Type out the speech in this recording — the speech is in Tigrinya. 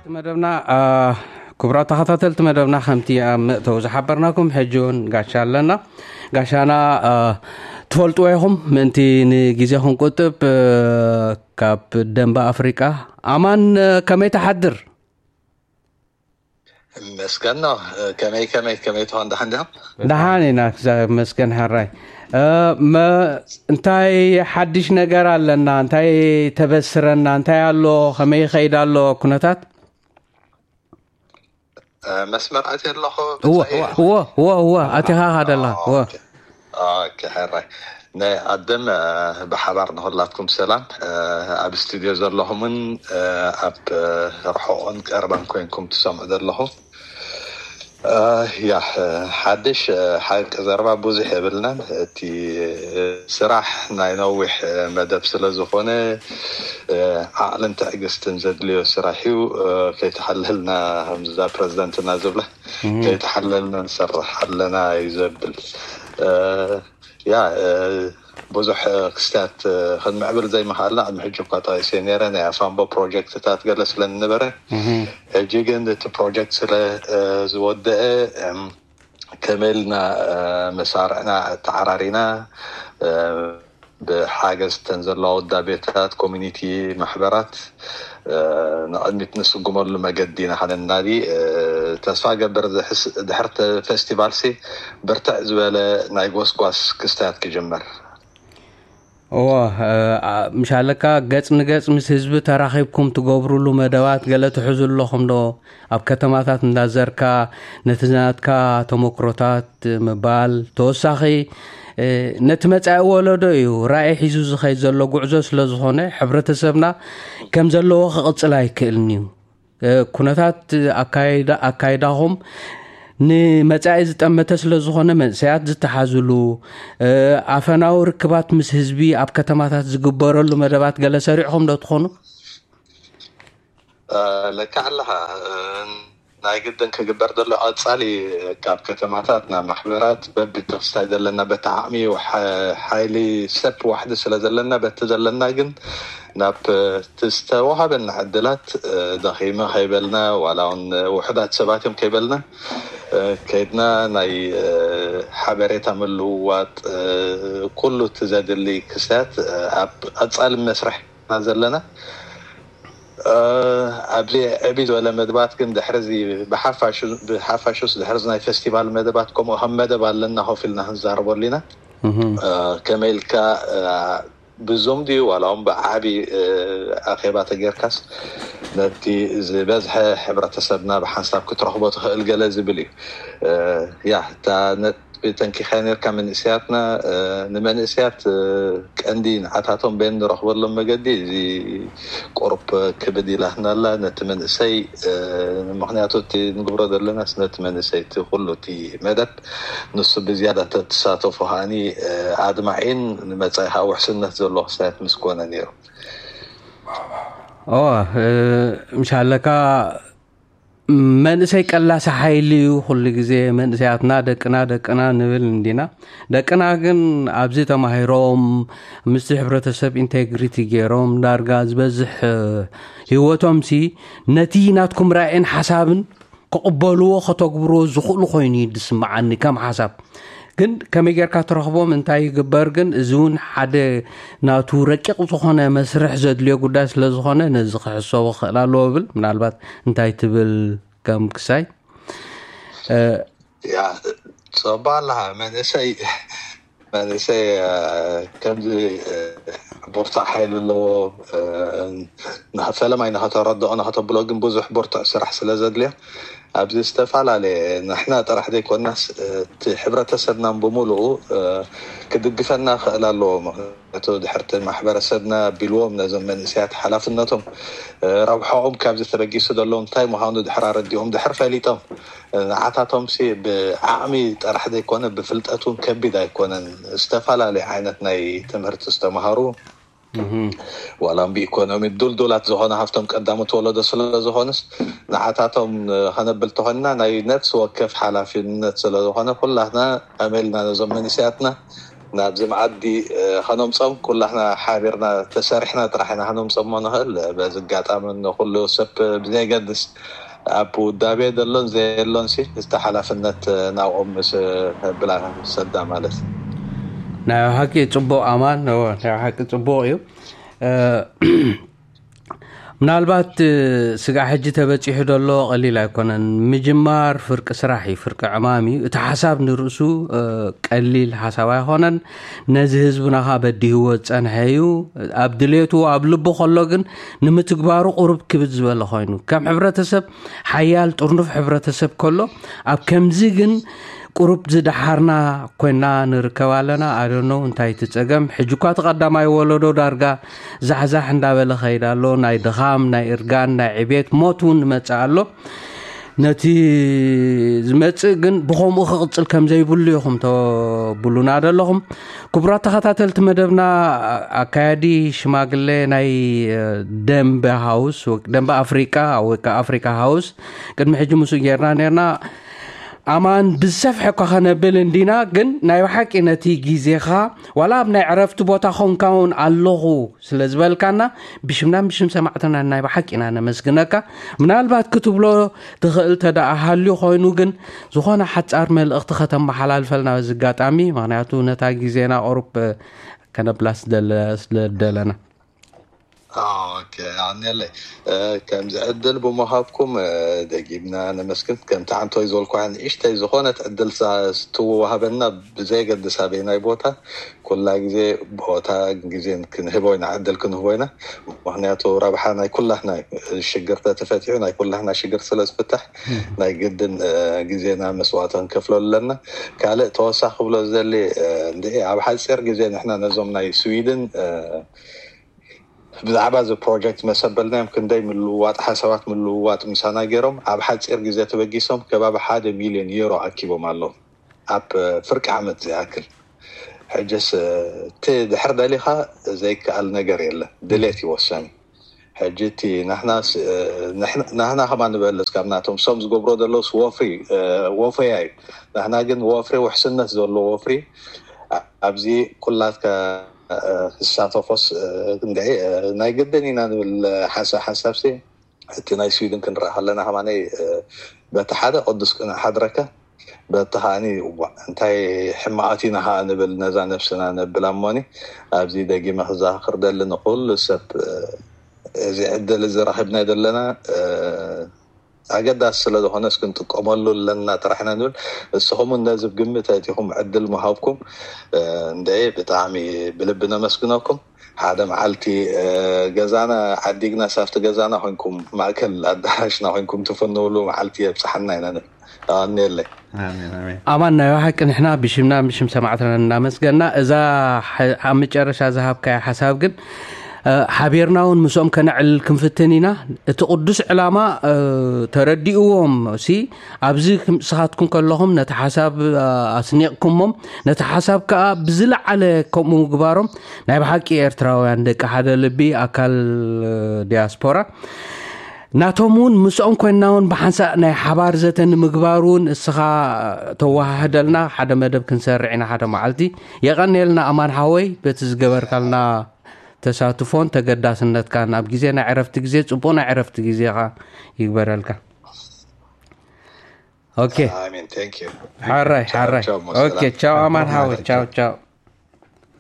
መደብና ክቡራት ተኸታተልቲ መደብና፣ ከምቲ ኣብ መእተዊ ዝሓበርናኩም፣ ሕጂ እውን ጋሻ ኣለና። ጋሻና ትፈልጥዎ ኢኹም። ምእንቲ ንግዜ ክንቁጥብ፣ ካብ ደንበ ኣፍሪቃ። ኣማን፣ ከመይ ትሓድር? መስገን ነው። ከመይ ከመይ ከመይ ትኾን? ደሓን ዲኹም? ደሓን ኢና፣ እግዚኣብሔር ይመስገን። ሕራይ፣ እንታይ ሓድሽ ነገር ኣለና? እንታይ ተበስረና? እንታይ ኣሎ? ከመይ ይኸይድ ኣሎ ኩነታት? መስመር ኣትየ ኣለኹ። እወ እወ እወ፣ ኣቲኻ ኻደላ እወ። ኦኬ፣ ሕራይ። ናይ ኣደም ብሓባር ንኹላትኩም ሰላም። ኣብ ስቱድዮ ዘለኹምን ኣብ ርሑቕን ቀርባን ኮይንኩም ትሰምዑ ዘለኹም። ያ፣ ሓድሽ ሓቂ ዘረባ ብዙሕ የብልናን። እቲ ስራሕ ናይ ነዊሕ መደብ ስለ ዝኾነ ዓቕልን ትዕግስትን ዘድልዮ ስራሕ እዩ። ከይተሓለልና፣ ከምዛ ፕረዚደንትና ዝብላ፣ ከይተሓለልና ንሰርሕ ኣለና እዩ ዘብል። ያ፣ ብዙሕ ክስታት ክንምዕብል ዘይምኽኣልና ቅድሚ ሕጂ እኳ ጠቒሰ ነይረ፣ ናይ ኣፋምቦ ፕሮጀክትታት ገለ ስለ ንነበረ። ሕጂ ግን እቲ ፕሮጀክት ስለ ዝወደአ፣ ከመይ ኢልና መሳርዕና ተዓራሪና፣ ብሓገዝ ተን ዘለዋ ውዳቤታት፣ ኮሚኒቲ ማሕበራት ንቕድሚት ንስጉመሉ መገዲ ኢና ከነናዲ። ተስፋ ገብር፣ ድሕርቲ ፌስቲቫልሲ ብርትዕ ዝበለ ናይ ጎስጓስ ክስታያት ክጅመር። እዎ፣ ምሻለካ ገጽ ንገጽ ምስ ህዝቢ ተራኺብኩም ትገብሩሉ መደባት ገለ ትሕዙ ኣለኹም ዶ? ኣብ ከተማታት እንዳዘርካ ነቲ ናትካ ተመክሮታት ምባል፣ ተወሳኺ ነቲ መጻኢ ወለዶ እዩ ራእይ ሒዙ ዝኸይድ ዘሎ ጉዕዞ ስለ ዝኾነ፣ ሕብረተሰብና ከም ዘለዎ ክቕጽል ኣይክእልን እዩ። ኩነታት ኣካይዳኹም ንመጻኢ ዝጠመተ ስለ ዝኾነ፣ መንእሰያት ዝተሓዝሉ፣ ኣፈናዊ ርክባት ምስ ህዝቢ ኣብ ከተማታት ዝግበረሉ መደባት ገለ ሰሪዕኹም ዶ ትኾኑ? ለካ ኣለኻ። ናይ ግድን ክግበር ዘሎ ቀጻሊ ካብ ከተማታት ናብ ማሕበራት በቢ ተኽስታይ ዘለና በቲ ዓቕሚ ሓይሊ ሰብ ዋሕዲ ስለ ዘለና፣ በቲ ዘለና ግን ናብ እቲ ዝተዋሃበና ዕድላት ደኺመ ከይበልና፣ ዋላ እውን ውሑዳት ሰባት እዮም ከይበልና፣ ከይድና ናይ ሓበሬታ ምልውዋጥ፣ ኩሉ እቲ ዘድሊ ክስታት ኣብ ቀጻሊ መስርሕ ዘለና። ኣብዚ ዕብይ ዝበለ መደባት ግን ድሕርዚ ብሓፋሹስ ድሕርዚ ናይ ፌስቲቫል መደባት ከምኡ ከም መደብ ኣለና ኮፍ ኢልና ክንዛረበሉ ኢና። ከመይ ኢልካ ብዞም ድዩ ዋላ እውን ብዓቢ ኣኼባ ተጌርካስ ነቲ ዝበዝሐ ሕብረተሰብና ብሓንሳብ ክትረኽቦ ትኽእል ገለ ዝብል እዩ። ያ፣ እታ ተንኪኻ ነርካ መንእሰያትና። ንመንእሰያት ቀንዲ ንዓታቶም በየን ንረኽበሎም መገዲ እዚ ቁሩብ ክብድ ኢላትና ኣላ ነቲ መንእሰይ። ምክንያቱ እቲ ንግብሮ ዘለናስ ነቲ መንእሰይ እቲ ኩሉ እቲ መደብ ንሱ ብዝያዳ ተትሳተፎ ከዓኒ ኣድማዒን ንመጻኢ ከዓ ውሕስነት ዘለዎ ክስታያት ምስ ኮነ ነይሩ። ኦ፣ ምሻለካ መንእሰይ ቀላሲ ሓይሊ እዩ። ኩሉ ግዜ መንእሰያትና ደቅና ደቅና ንብል እንዲና። ደቅና ግን ኣብዚ ተማሂሮም ምስቲ ሕብረተሰብ ኢንቴግሪቲ ገይሮም ዳርጋ ዝበዝሕ ህይወቶም ሲ ነቲ ናትኩም ራእይን ሓሳብን ክቕበልዎ ከተግብርዎ ዝኽእሉ ኮይኑ እዩ ዝስምዓኒ ከም ሓሳብ። ግን ከመይ ጌርካ ትረኽቦም እንታይ ይግበር ግን እዚ እውን ሓደ ናቱ ረቂቕ ዝኾነ መስርሕ ዘድልዮ ጉዳይ ስለ ዝኾነ ነዚ ክሕሰቦ ክኽእል ኣለዎ ብል ምናልባት እንታይ ትብል ከም ክሳይ ያ ጸባ ኣለኻ መንእሰይ መንእሰይ ከምዚ ብርቱዕ ሓይሊ ኣለዎ። ፈለማይ ንኸተረድኦ ንኸተብሎ ግን ብዙሕ ብርቱዕ ስራሕ ስለ ዘድልዮ ኣብዚ ዝተፈላለየ ንሕና ጥራሕ ዘይኮናስ እቲ ሕብረተሰብና ብምሉኡ ክድግፈና ክእል ኣለዎ። ምክንያቱ ድሕርቲ ማሕበረሰብና ኣቢልዎም ነዞም መንእሰያት ሓላፍነቶም ረብሖኦም ካብዚ ተበጊሱ ዘለዎም እንታይ ምዃኑ ድሕር ኣረዲኦም ድሕር ፈሊጦም ንዓታቶም ሲ ብዓቕሚ ጥራሕ ዘይኮነ ብፍልጠት እውን ከቢድ ኣይኮነን። ዝተፈላለዩ ዓይነት ናይ ትምህርቲ ዝተምሃሩ ዋላ ብኢኮኖሚ ዱልዱላት ዝኾነ ሃፍቶም ቀዳሞት ወለዶ ስለ ዝኾኑስ ንዓታቶም ከነብል ተኾንና ናይ ነፍሲ ወከፍ ሓላፊነት ስለ ዝኾነ ኩላትና ኣመልና ነዞም መንእሰያትና ናብዚ መኣዲ ከነምፀም ኩላህና ሓቢርና ተሰሪሕና ጥራሕ ኢና ከነምፀሞ ንኽእል። በዚ ኣጋጣሚ ንኩሉ ሰብ ብዘይገድስ ኣብ ውዳቤ ዘሎን ዘየሎን ሲ እቲ ሓላፍነት ናብኦም ምስ ብላ ሰዳ ማለት እዩ። ናይ ሓቂ ጽቡቕ ኣማን ናይ ሓቂ ጽቡቕ እዩ። ምናልባት ስጋዕ ሕጂ ተበፂሑ ዘሎ ቀሊል ኣይኮነን። ምጅማር ፍርቂ ስራሕ እዩ፣ ፍርቂ ዕማም እዩ። እቲ ሓሳብ ንርእሱ ቀሊል ሓሳብ ኣይኮነን። ነዚ ህዝብና ኸዓ በዲህዎ ዝፀንሐ እዩ። ኣብ ድሌቱ ኣብ ልቡ ከሎ ግን ንምትግባሩ ቁሩብ ክብድ ዝበለ ኮይኑ ከም ሕብረተሰብ ሓያል ጥርኑፍ ሕብረተሰብ ከሎ ኣብ ከምዚ ግን ቁሩብ ዝደሓርና ኮይና ንርከብ ኣለና። ኣደኖ እንታይ እቲ ጸገም? ሕጂ እኳ እቲ ቀዳማይ ወለዶ ዳርጋ ዛሕዛሕ እንዳበለ ኸይድ ኣሎ። ናይ ድኻም፣ ናይ እርጋን፣ ናይ ዕቤት ሞት እውን ይመጽእ ኣሎ። ነቲ ዝመጽእ ግን ብኸምኡ ክቕጽል ከም ዘይብሉ ኢኹም ተብሉና ዘለኹም። ክቡራት ተኸታተልቲ መደብና፣ ኣካያዲ ሽማግሌ ናይ ደንበ ሃውስ ደንበ ኣፍሪቃ ወይ ከዓ ኣፍሪካ ሃውስ ቅድሚ ሕጂ ምስኡ ጌርና ነርና። ኣማን ብዝሰፍሐ እኳ ከነብል እንዲና፣ ግን ናይ ብሓቂ ነቲ ግዜኻ ዋላ ኣብ ናይ ዕረፍቲ ቦታ ኾንካ እውን ኣለኹ ስለ ዝበልካና ብሽምናን ብሽም ሰማዕትና ናይ ብሓቂ ኢና ነመስግነካ። ምናልባት ክትብሎ ትኽእል ተደኣ ሃልዩ ኮይኑ ግን ዝኾነ ሓጻር መልእኽቲ ከተመሓላልፈልና በዚ ኣጋጣሚ፣ ምኽንያቱ ነታ ግዜና ቁሩብ ከነብላ ስለ ደለና። ኦኬ፣ ኣኔለይ ከምዚ ዕድል ብምሃብኩም ደጊምና ነመስግን። ከምቲ ዓንቶይ ዝበልኩ ንእሽተይ ዝኾነት ዕድል ትወሃበና ብዘይገድስ ኣበይ ናይ ቦታ ኩላ ግዜ ቦታ ግዜን ክንህቦ ኢና፣ ዕድል ክንህቦ ኢና። ምክንያቱ ረብሓ ናይ ኩላህና ሽግር ተተፈቲሑ ናይ ኩላህና ሽግር ስለ ዝፍታሕ ናይ ግድን ግዜና መስዋእቲ ክንከፍለሉ ኣለና። ካልእ ተወሳኺ ክብሎ ዘሊ እንደ ኣብ ሓፂር ግዜ ንሕና ነዞም ናይ ስዊድን ብዛዕባ እዚ ፕሮጀክት መሰበልናዮም ክንደይ ምልውዋጥ ሓሳባት ምልውዋጥ ምሳና ገይሮም ኣብ ሓፂር ግዜ ተበጊሶም ከባቢ ሓደ ሚሊዮን ዩሮ ኣኪቦም ኣለዉ ኣብ ፍርቂ ዓመት ዝኣክል። ሕጅስ እቲ ድሕር ደሊኻ ዘይከኣል ነገር የለ፣ ድሌት ይወሰን። ሕጂ እቲ ናህና ከማ ንበልፅ ካብ ናቶም ሶም ዝገብሮ ዘለውስ ወፍሪ ወፈያ እዩ። ናህና ግን ወፍሪ ውሕስነት ዘለዎ ወፍሪ ኣብዚ ኩላትካ ክሳተፎስ ናይ ግድን ኢና ንብል ሓንሳብ ሓንሳብሲ እቲ ናይ ስዊድን ክንረኣ ከለና ከማነይ በቲ ሓደ ቅዱስ ቅንዕ ሓድረካ በቲ ከዓኒ እንታይ ሕማቓት ኢና ከዓ ንብል ነዛ ነብስና ነብላ እሞኒ ኣብዚ ደጊመ ክዘኻኽር ደሊ ንኩሉ ሰብ እዚ ዕድል እዚ ረኺብና ዘለና ኣገዳሲ ስለ ዝኾነስ ክንጥቀመሉ ኣለና ጥራሕ ኢና ንብል። እስኹም እውን ነዚ ግምት ኣእቲኹም ዕድል ምሃብኩም እንደ ብጣዕሚ ብልቢ ነመስግነኩም። ሓደ መዓልቲ ገዛና ዓዲግና ሳብቲ ገዛና ኮንኩም ማእከል ኣዳራሽና ኮንኩም ትፍንውሉ መዓልቲ የብፅሓና ኢና ንብል። ኣኔለይ ኣማን ናይ ሓቂ ንሕና ብሽምና ብሽም ሰማዕትና እናመስገና እዛ ኣብ መጨረሻ ዝሃብካያ ሓሳብ ግን ሓቢርና እውን ምስኦም ከነዕልል ክንፍትን ኢና። እቲ ቅዱስ ዕላማ ተረዲእዎም ሲ ኣብዚ ስኻትኩም ከለኹም ነቲ ሓሳብ ኣስኒቕኩሞም ነቲ ሓሳብ ከዓ ብዝለዓለ ከምኡ ምግባሮም ናይ ብሓቂ ኤርትራውያን ደቂ ሓደ ልቢ ኣካል ዲያስፖራ ናቶም እውን ምስኦም ኮይንና እውን ብሓንሳእ ናይ ሓባር ዘተ ንምግባር እውን እስኻ ተወሃህደልና ሓደ መደብ ክንሰርዕ ኢና ሓደ መዓልቲ። የቐንየልና ኣማን ሓወይ በቲ ዝገበርካልና ተሳትፎን ተገዳስነትካን ኣብ ግዜ ናይ ዕረፍቲ ግዜ ጽቡቕ ናይ ዕረፍቲ ግዜኻ ይግበረልካ። ኦኬ ሓራይ ሓራይ ኦኬ ቻው ኣማን ሓወይ ቻው ቻው።